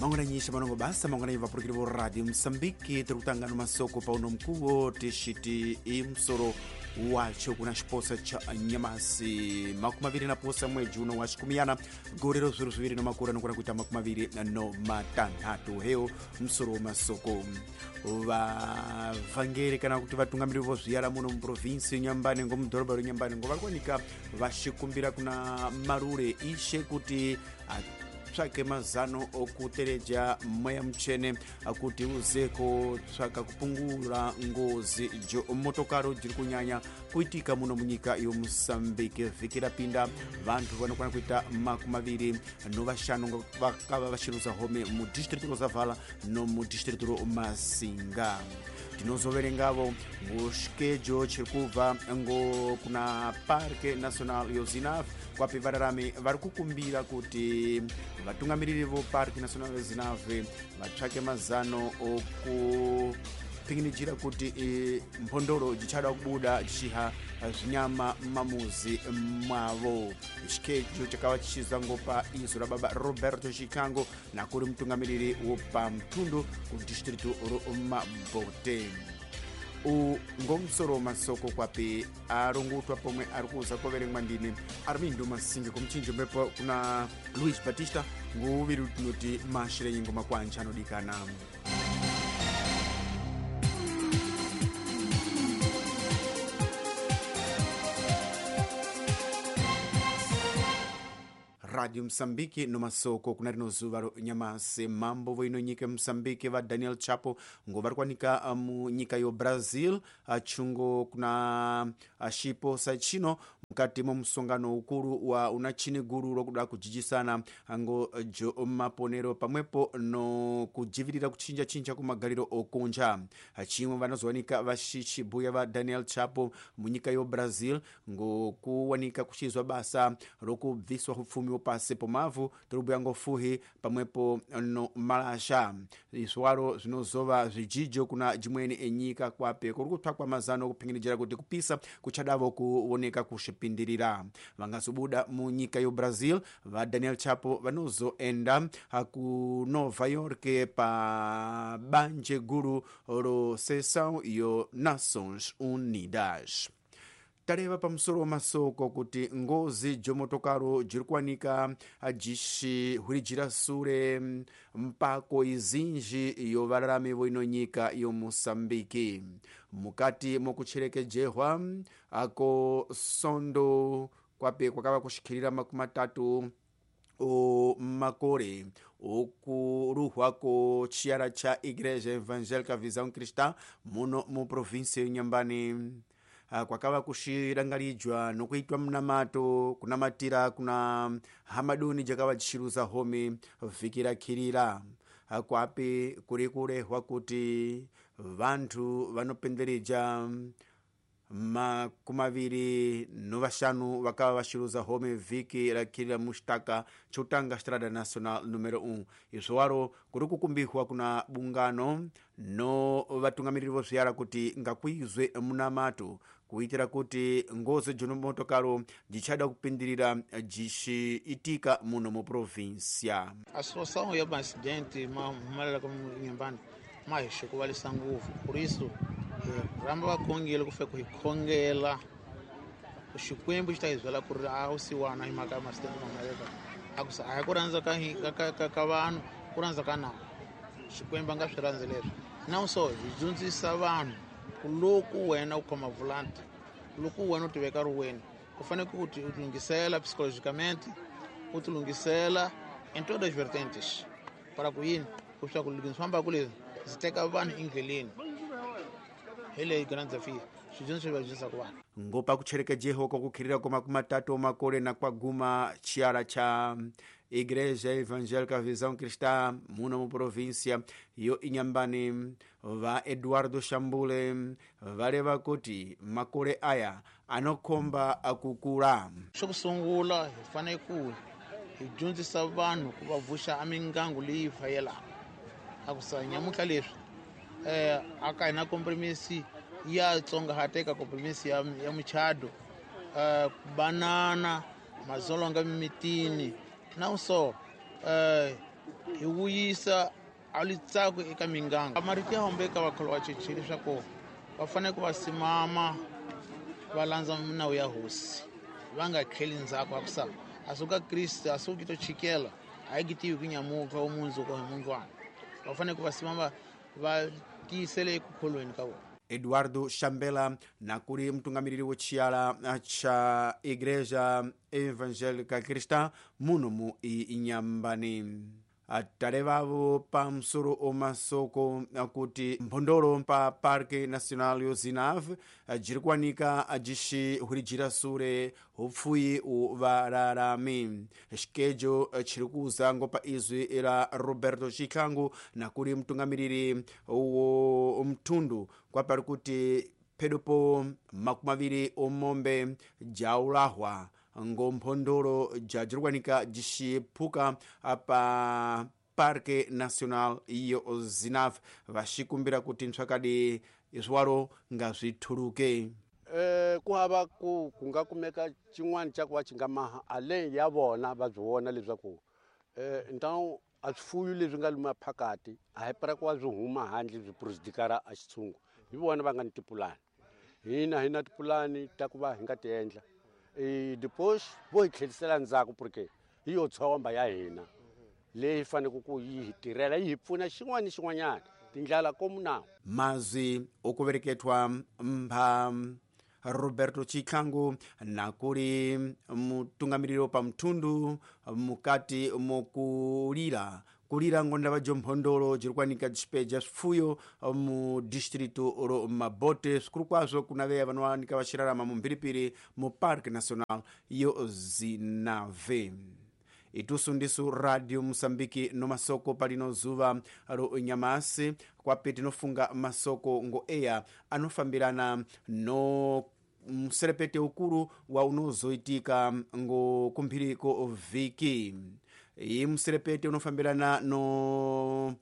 Mangwananyisha manongo basa mangwananyi vapurukiri vo Radio Msambiki tiri kutanga no masoko pauno mkuwo tixiti i musoro wacho kuna xiposa cha nyamasi 26 mwedzi uno wa xikumiyana gore ro 2024 nokona kuita 26 heyo musoro wa masoko. Vavhangeri kana kuti vatungamiriri vo zviyara muno muprovinsi Nyambani ngo mudhorobha reNyambani ngo vari kuwanika vachikumbira kuna Marure ishe kuti tsvake mazano okutereja mweya mutsvene kuti uze kotsvaka kupungura ngozi jo motokaro jiri kunyanya kuitika muno munyika yoMosambike. Vhiki rapinda vantu vanokwana kuita 25 vakava vachiruza home mudistritu roZavala nomudistritu roMasinga. Tinozoverengavo ngoxikejo chiri kubva ngo kuna Parque Nacional yoZinave kwapi vararami vari kukumbira kuti vatungamiriri vo Parque Nacional yoZinave vatsvake mazano okupinginijira kuti mphondoro jichada kubuda jichiha zvinyama mamuzi mwavo. Xikejo chakava chichiza ngopa izo ra baba Roberto Chikango nakuri mutungamiriri wopa mtundu kudistritu roMabote. Ngomusoro masoko kwapi arongutwa pomwe ari kuza koverengwa ndini Armindo Masinge kumchinjo mbepo kuna Luis Batista nguviri tinoti mashirenyi ngoma kwanja anodikana. Radio Msambiki no masoko kuna rino zuva ro nyamasi. Mambo voino nyika Msambiki va Daniel Chapo ngo vari kuwanika munyika yo Brazil chungo kuna xipo sa chino mukati mo musongano ukuru wa una chini guru rokuda kujijisana ngo jo maponero pamwepo no kujivirira kuchinja chinja kumagariro okunja. Chimwe vanozowanika vaxichibuya va Daniel Chapo munyika yo Brazil ngo kuwanika kuchizwa basa rokubviswa upfumi pasi pomavu tiribuya ngofuhi pamwepo no malasha. Izwaro zvinozova zvijijo kuna jimweni enyika kwape kuri kutsvakwa mazano okupinginijira kuti kupisa kuchadavo kuoneka kuxipindirira. Vangazobuda munyika yo Brazil va Daniel Chapo vanozoenda ku Nova York pa banje guru ro sessão yo Nações Unidas. Tareva pamusoro wamasoko kuti ngozi jomotokaro jiri kuwanika jixihwirijira sure mpako izinji yo vararami voino nyika yoMosambiki. Mukati mokucherekejehwa ako sondo kwape kwakava kuxikhirira 30 o makore okuruhwa ko chiyara cha Igreja Evangélica Visão Cristã muno mu província yoNyambani. Kwakava kuxirangarijwa nokuitwa munamato kunamatira kuna hamaduni jakava jichiruza home vhiki rakhirira. Kwapi kuri kurehwa kuti vantu vanopendereja 25 vakava vaxiruza home vhiki rakhirira muxitaka chotanga Estrada Nacional número 1. Izvowaro kuri kukumbihwa kuna bungano no vatungamiriri vo zviyara kuti ngakuizwe munamato kuitira kuti ngozi jonomotokaro jichada kupindirira jixiitika muno muprovinsia. A situação ya acidente mahumelela ka Nyambani ma hi xikuvalisa ngopfu. Por isso hi rhamba vakhongeli ku fika ku hi khongela Xikwembu xi ta hi byela ku ri a wu siwana hi mhaka ya ma-accident ma humelela. A ku a hi ku rhandza ka vanhu, ku rhandza ka nawu. Xikwembu a nga swi rhandzi leswi. Now so hi dyondzisa vanhu ku loko wena u khoma volante, loko wena u ti veka ri wena, u fanele ku ti lunghisela psychologicamente, u ti lunghisela em todas as vertentes. Para ku yini? Ku swa ku loko ndzi fambaka leswi ndzi teka vanhu endleleni. Hi leyi grand desafio swidyondzo leswi va dyondzisaka vanhu. Ngopa kucherekejeho kokukhirira kwa 30 makore na kwaguma chiara cha Igreja Evangélica Visão Cristã muno mu província yo Inhambane va Eduardo Shambule vareva kuti makore aya anokhomba akukula. Xo sungula hi fanele ku hi dyondzisa vanhu ku va vuxa a mindyangu leyi fayelaka. A ku sa nyamuntlha leswi a ka hina kompromisi ya tsongahateka kompromisi ya muchado, banana mazolonga mimitini. Não só Hi vuyisa a litsako eka minganga. Marito ya hombe eka vakholwa va cheche leswaku va fanele ku va simama va landza minawu ya hosi, va nga tlheli ndzhaku hikusa a suka Kriste a suki to chikela a yi tivi ku nyamuka wa mundzuku hi mundlwana. Va fanele ku va simama va tiyisele eku kholweni ka vona. Eduardo Shambela nakuli mtungamiriri wo chiyala cha Igreja Evangélica Cristã muno mu Inhambane. Atalevavo pa msoro omasoko kuti mphondolo pa Parque Nacional yo Zinave jiri kuwanika ajixihwirijira sure hupfuyi uvalalami. Xikejo chiri kuza ngopa izwi la Roberto Chikhangu nakuli mtungamiriri wo mthundu kwapali kuti phedopo 20 omombe jaulahwa ngomphondolo jajirikuwanika jixiphuka pa Parque Nacional iyo Zinave vaxikumbira kuti ntswakadi iswalo ngazvithuluke. Ku hava ku nga kumeka xin'wana xa ku va xi nga maha ale ya vona va byi vona leswaku então a swifuyo leswi nga luma phakati a hi para ku va swi huma handle byi prejudikara a xitshungu. Hi vona va nga ni tipulani, hina hi na tipulani ta ku va hi nga ti endla. Depois vo hi tlherisela ndzhaku porque hi yo tshomba ya hina leyi faneleke ku yi hi tirhela yi hi pfuna xin'wana ni xin'wanyana tindlela komunawu. Mazwi okuvereketwa mpha Roberto Chikhangu nakuli mutungamiriri pa mthundu mukati mokulira kulira ngonda va mphondolo jiri kuwanika jipeja swifuyo mu distrito ro Mabote swikulu kwazwo kuna veya vanowanika vaxirarama mumphiripiri mu Parque Nacional yo Zinave. Itusu ndisu Radio Moçambique no masoko palino zuva ro nyamasi kwapi tinofunga masoko ngo eya anofambirana no mserepete ukulu wa unozoitika ngo kumphiriko vhiki. Iyi mserepete unofambirana no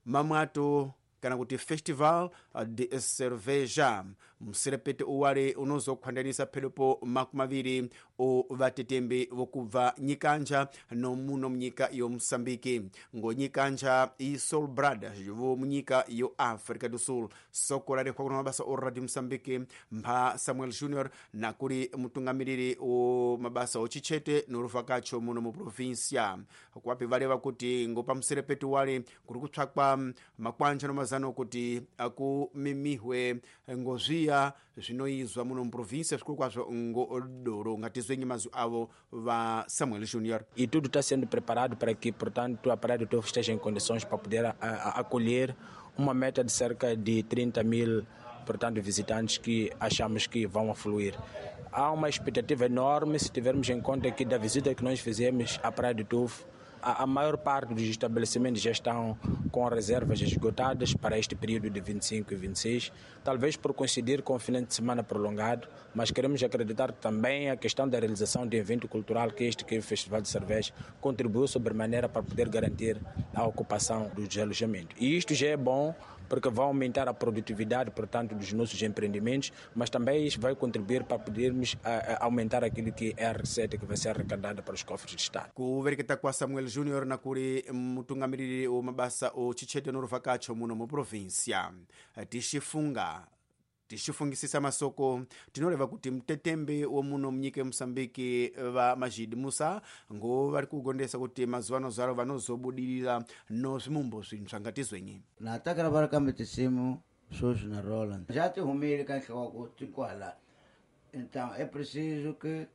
mamwato kana kuti Festival de Cerveja. Mserepete uwale unozokhwandanisa phedopo 20 o vatetembe vokubva nyikanja no muno munyika yo Moçambique. Ngo nyikanja i Sol Brothers vo munyika yo Africa do Sul. Soko rarehwa kuno mabasa o Radio Moçambique mpha Samuel Junior nakuli mutungamiriri o mabasa o chichete noruvakacho muno mu provincia. Kwapi valeva kuti ngo pa mserepete wale kuri kutsvakwa makwanja no mazano kuti akumimihwe ngozviya zvinoizwa muno muprovinsia zvikuru kwazvo ngodoro. Ngatizwenyi mazwi avo va Samuel Junior. E tudo está sendo preparado para que, portanto, a Praia do Tofo esteja em condições para poder acolher uma meta de cerca de 30 mil, portanto, visitantes que achamos que vão afluir. Há uma expectativa enorme se tivermos em conta que da visita que nós fizemos à Praia do Tofo, a maior parte dos estabelecimentos já estão com reservas esgotadas para este período de 25 e 26, talvez por coincidir com o fim de semana prolongado, mas queremos acreditar também a questão da realização de evento cultural que este que é o Festival de Cerveja contribuiu sobremaneira para poder garantir a ocupação dos alojamentos. E isto já é bom porque vai aumentar a produtividade, portanto, dos nossos empreendimentos, mas também isso vai contribuir para podermos aumentar aquilo que é a receita que vai ser arrecadada para os cofres do Estado. Kuvereketa kwa Samuel Junior nakuli mutungamiriri wa mabasa o chichete noruvakacho muno mu provincia. Tixifungisisa masoko tinoreva kuti mtetembe wo muno munyika yeMosambiki va Majid Musa ngo vari kugondesa kuti mazuva ano zvaro vanozobudirira no zvimumbo zvintsva ngatizwenyi. Na takala va ri kambe tinsimu sweswi na Roland já ti humile ka nhloko ti kwala. Então é preciso que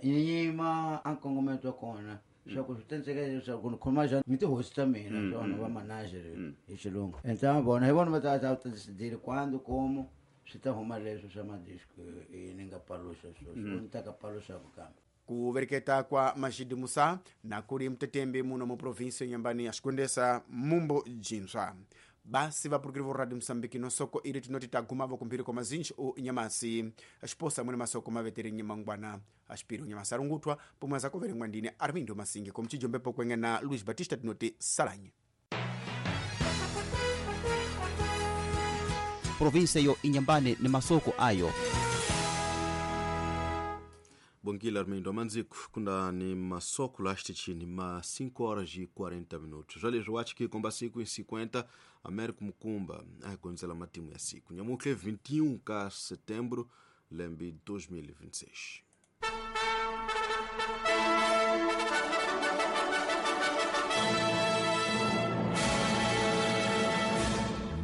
nyima a nkongometo wa kona swa ku swi tenseka leswaku ni khoma njhani ni tihosi ta mina swona va manager hi xilungu. Então vona hi vona va ta ta decidile quando como swi ta huma leswi swa madisco ni nga paluxa sweswi ni ta ka paluxaku kambe. Kuvereketa kwa Majid Musa nakuli mtetembe muno mu provinsi Inhambane axikondesa mumbo jintswa. Basi vapurukiri vo Radio Moçambique no soko iri tinoti tagumavo kumphiri kwa mazinji o nyamasi axiposa mwene masoko maveteri nyamangwana axipiri nyamasi arungutwa pomwe azakoverengwa ndine Armindo Masinge komchijombepo kwenga na Luis Batista tinoti salanye. Provinsia yo Inhambane ni masoko ayo. Bom dia, Armindo Manzico, kundani masoko lastitini ma 5 horas e 40 minutos. Olha, eu acho que com 5 e 50, Américo Mucumba, a conzela matimu ya siku. Nyamuke 21 de setembro, lembi 2026.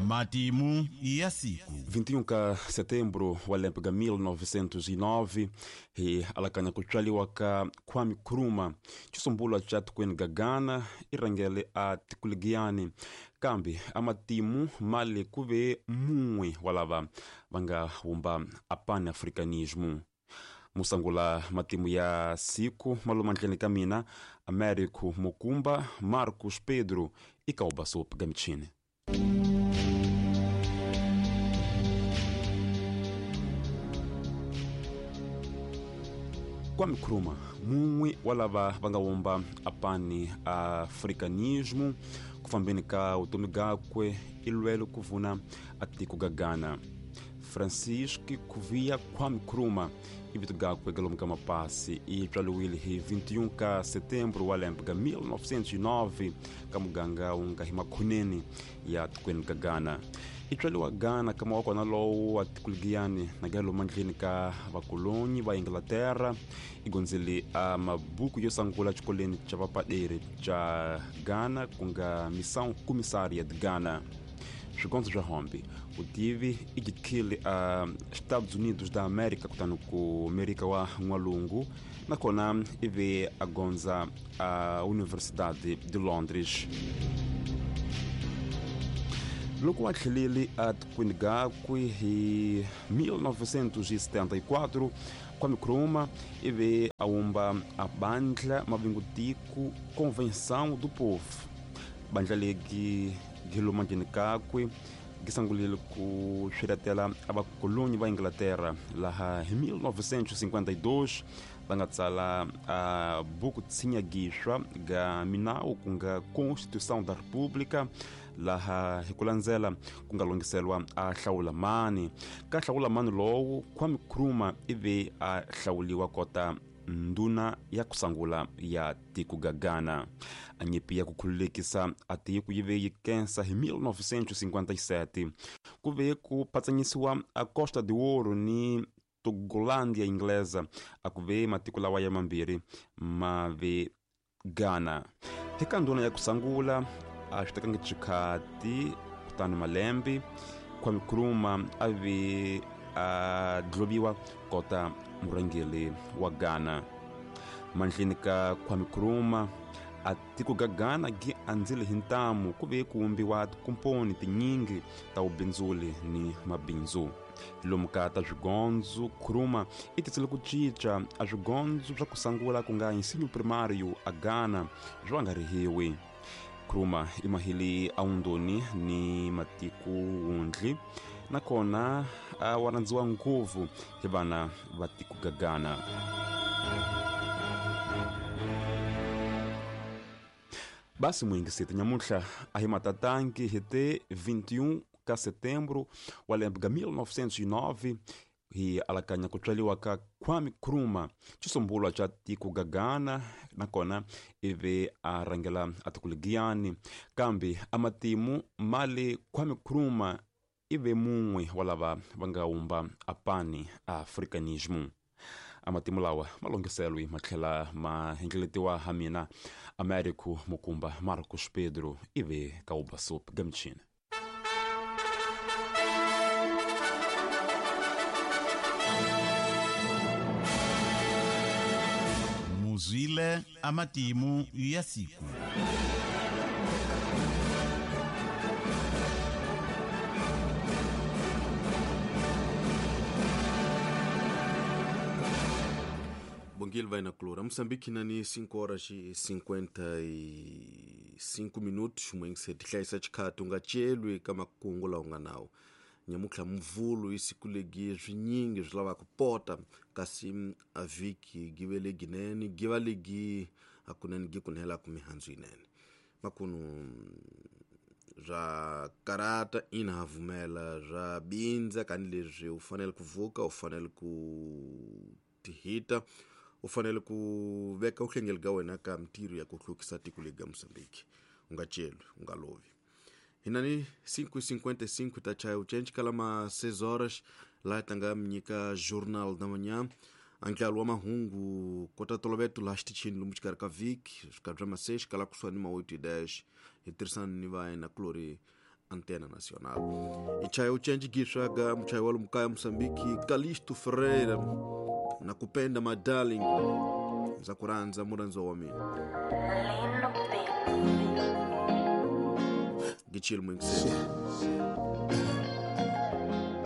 Matimu ya siku 21 ka setembro wa lembe ka 1909 hi alakanya ku tswaliwa ka Kwame Nkrumah xisumbulwa xa tikweni ka Ghana i rhangele a tikuligiyani kambe a matimu mali ku ve mun'we wa lava va nga wumba a pan-africanismo. Musangula matimu ya siku maluma ndleni ka mina Américo Mukumba Marcos Pedro i Kaubasop Gamichini. Kwame Nkrumah mun'we wa lava va nga wumba a pan-africanismo ku fambeni ka vutomi gakwe i lwele ku vuna a tiko ga Ghana. Francisco Kuvia Kwame Nkrumah i vito gakwe ga lomu ka mapasi i tswaliwile hi 21 ka setembro wa lembe ga 1909 ka muganga wu nga hi makhoneni ya tikweni ka Ghana. I tswaliwa Ghana kama wa kona lowu wa tikuligiyani na ga lomu ndleni ka vakolonyi va Inglaterra i gondzele a mabuku yo sangula xikolweni xa vapaderi xa Ghana ku nga Missão Comissária de Ghana. Swigondzo swa hombe vutivi i jikhile a Estados Unidos da América kutani ku Amerika wa N'walungu nakona i ve a gondza a Universidade de Londres. Loko a tlhelele a tikweni gakwe hi 1974 Kwame Nkrumah i ve a wumba a bandla mavingutiko Convenção do Povo. Bandla legi giluma ndleni kakwe gisangulile ku swiletela a vakolonyi va Inglaterra laha hi 1952 va nga tsala a buku tshinya gixwa ga minawu ku nga Constituição da República laha hi ku landzela ku nga longhiselwa a hlawula mani ka hlawula mani lowu Kwame Nkrumah i ve a hlawuliwa kota nduna ya kusangula ya tiko ga Ghana. A nyimpi ya ku khululekisa a tiko yi ve yi kensa hi 1957 ku ve ku patsanyisiwa a Costa de Ouro ni Togolândia Inglesa a ku ve matiko lawa ya mambirhi ma ve Ghana. Hi ka nduna ya kusangula a swi tekangi xikhati kutani malembe Kwame Nkrumah a ve a dloviwa kota murhangeri wa Ghana. Mandleni ka Kwame Nkrumah a tiko ga Ghana gi andzile hi ntamu ku ve ku wumbiwa tikomponi tinyingi ta vubindzuli ni mabindzu. Lomu ka ta swigondzo Nkrumah i tisele ku cinca a swigondzo swa ku sangula ku nga ensino primário a Ghana swo nga rihiwi. Nkrumah i mahili a wundoni ni matiko wundli nakona a wa rhandziwa ngopfu hi vana va tiko ga Ghana. Basi muyingiseti nyamuntlha a hi matatangi hi te 21 ka setembro wa lembe ga 1909 hi alakanya ku tswaliwa ka Kwame Nkrumah xisumbulwa xa tiko ga Ghana nakona i ve a rhangela a tikuligiyani kambe a matimu mali Kwame Nkrumah i ve mun'we wa lava va nga wumba a pan-africanismo. A matimu lawa ma longhiselwi ma tlhela ma hlengeletiwa ha mina Américo Mukumba Marcos Pedro i ve ka Ubasop Gamichini. Muzwile amatimu ya siku. Bongil vai na Clora. Moçambique nani 5 horas e 55 minutos, mwengse tihlayisa xikhathi u nga celwi ka makungu lawa u nga nawo. Nyamutlha mvulu isiku legi swinyingi swi lavaka pota kasi a vhiki gi ve leginene gi va legi hakunene gi ku nhelaka mihandzu yinene. Makunu swa karata ina ha vumela swa bindza kanileswi u fanele ku vuka u fanele ku tihita U fanele ku veka uhlengeli ka wena ka mintirho ya ku hlukisa tiko lega Mozambique. U nga celwi, u nga lovi. Hinani 5:55 ta chaya uchenji kala ma 6 horas laha tlanga mi nyika Journal da Manhã, andlalo wa mahungu kota toloveto laha xitichini lomu xikarhi ka vhiki swikarhi bya ma 6 kala kusuhani ma 8:10 hi tirhisana ni va kulori Antena Nacional. I chaya uchenji giswaga muchayi wa lomu kaya Mozambique Calisto Ferreira na kupenda my darling ndza ku rhandza murhandziwa wa mina. Gichile muyingiseri.